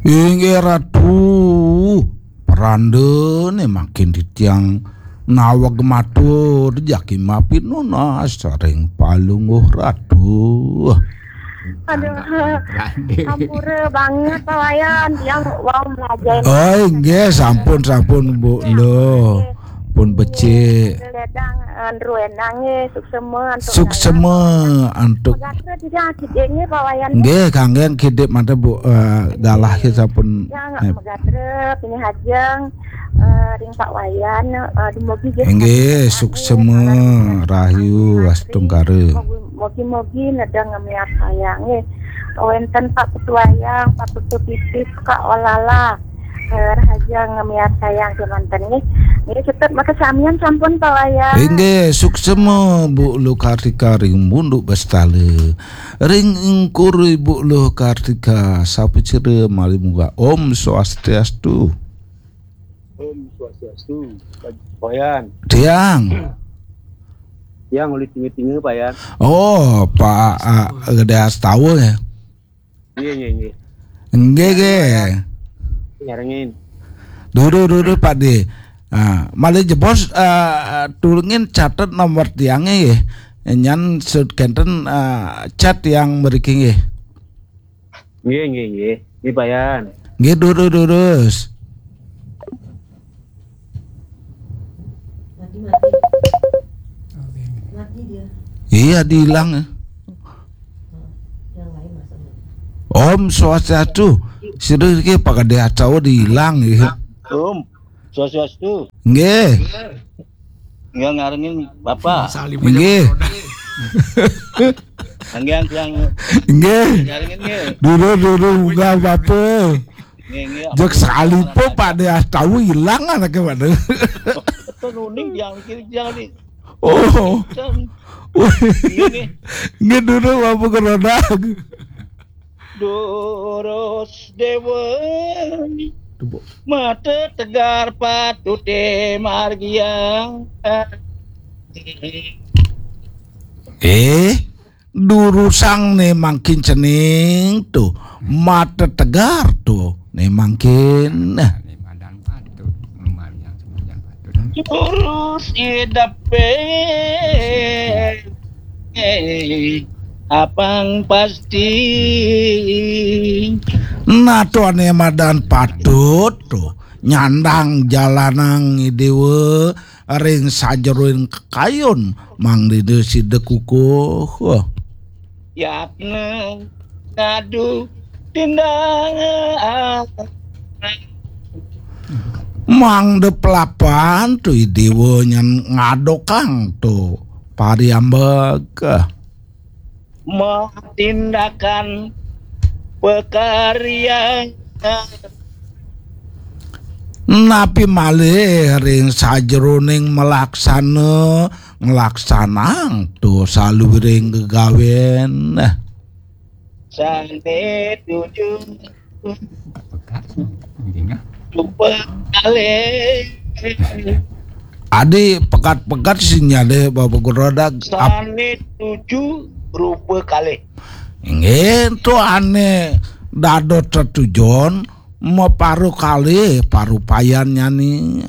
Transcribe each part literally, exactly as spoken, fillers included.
Inggih Ratu, perandene mangkin titiang naweg matur jagi mapi nunas ring Palungguh Ratu. Aduh, ampura banget Pak Wayan, tiang wau melajahin. Oh, inggih, sampun, sampun, Bu. Lho. Pun becik. Ledang, eh, Ndru Endang nggih, suksema antuk. Suksema antuk. Pegatra tiga kidik nggih Pak Wayan. Nggih, kangge kidik manten Bu, eh, galah sampun. Ya, nggak eh. Megatra, pinih ajeng, eh, ring Pak Wayan, eh, dumugi nggih. Nggih, suksema, rahayu, astungkara. Mugi Mugi-mugi nedeng ngemiat sayang nggih. Wenten Pak Ketuayang, Pak Putu Pipis, Kak Olala. Eh, rahaja ngemiat sayang kemanten nggih. Nggih, cetet makasamian sampun Pak Wayan. Inggih, suksema Bu Luh Kartika ring Munduk Bestale. Ring ingkur Ibu Luh Kartika, sapacira malih munggah. Om Swastiastu. Om Swastiastu. Pak Wayan. Tiang. Tiang uli tinga-tinga, Pak Yan. Oh, Pak, ah, Gede Astawa ya. Nggih, nggih, nggih. Nggih, nggih. Nyarengin. Dulu, dulu, Pak De. Ah, malih jebos, ah, tulungin catet nomor tiangnya nggih. Nyan sud kenten, ah, chat yang mriki nggih. Nggih, nggih, nggih. Nggih, Pak Yan. Nggih, durus, durus. Mati, mati. Oke. Mati dia. Iya, dihilang ya. Yang lain masuk. Om Swastiastu. Sira iki Pak Gede Astawa dihilang ya. Om Swastiastu. Nggih. Nggih, ngarengin Bapak. Salim aja. Nggih. Nggih, nggih. Nggih. Ngarengin nggih. Dulu, dulu, munggah Bapak. Nggih, nggih. Jek salipe Pak De Astawa ilang anake, Pak De. Ten uning yang kiri yang ni. Oh. Ten. Wih. Nggih, nggih. Nggih, dulu Bapak Kerodak. Durus Dewa. Tepuk. Mata tegar patute margiang. Eh, durusang ne mangkin cening to. Mata tegar to ne mangkin. Nah, ne madan patut, margiang semargiang patut. Durus idepe. Apang pasti. Nah, to ane madan patut to nyandang jalanang idewa ring sajeroning kekayun mangdene sida kukuh. Yatna ngadu tindak. Mangda pelapan to idewa nyan ngadokang to pariambag. Matindakan pekarya. Napi malih ring sajeroning malaksana nglaksanang to saluwiring gegawen. Sane tuju. Rupa kalih. Adi pegat-pegat sinyale Bapak Guru Rodak. Sane tuju rupa kalih. Nggih, to ane dados tetujon maparu kalih parupayan nyani.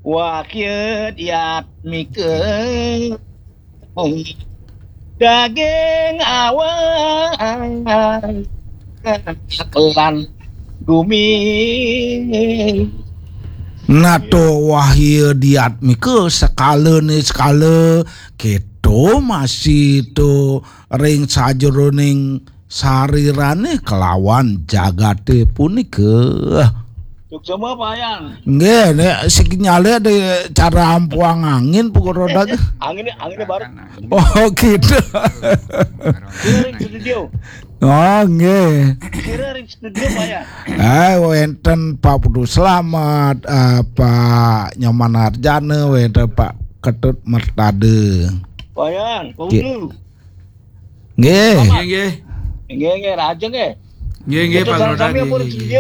Wakya diatmika daging awak lan gumi. Nato wahya diatmika sekala ni sekala keto masih to ring sajeroning sarirane kelawan jagate punika. Suksema, Pak Yan. Nggih, nek sinyale ada cara ampuang angin pukul roda ke? Angin, angin baru. Oh, gitu. Kira ring studio. Oh, nggih. Kira ring studio, Pak Yan. Eh, wenten Pak Putu Slamet, eh, Pak Nyoman Arjana, wenten Pak Ketut Mertade. Pak Yan, Pak Putu. Nggih. Nggih, nggih. Nggih, nggih, rajin nggih. Nggih, nggih, Pak Roda, nggih,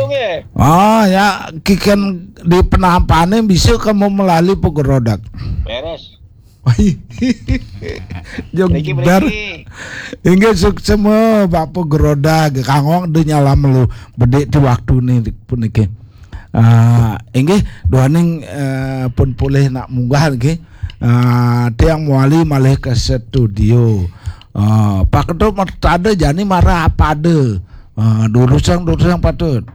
nggih. Oh, ya, kiken di penampane bisa kamu melalui Pak Roda. Beres. Jog Mriki, ber. Mriki. Inggih suksma Bapak Geroda, kanggo de nyala melu bedik di waktu ni puniki. Ah, inggih duaning eh, pun polih nak munggah nggih. Ah, tiang mawali malih ke studio. Ah, Pak Ketut tada jani marah apa ada. Ah, durusang durusang patut.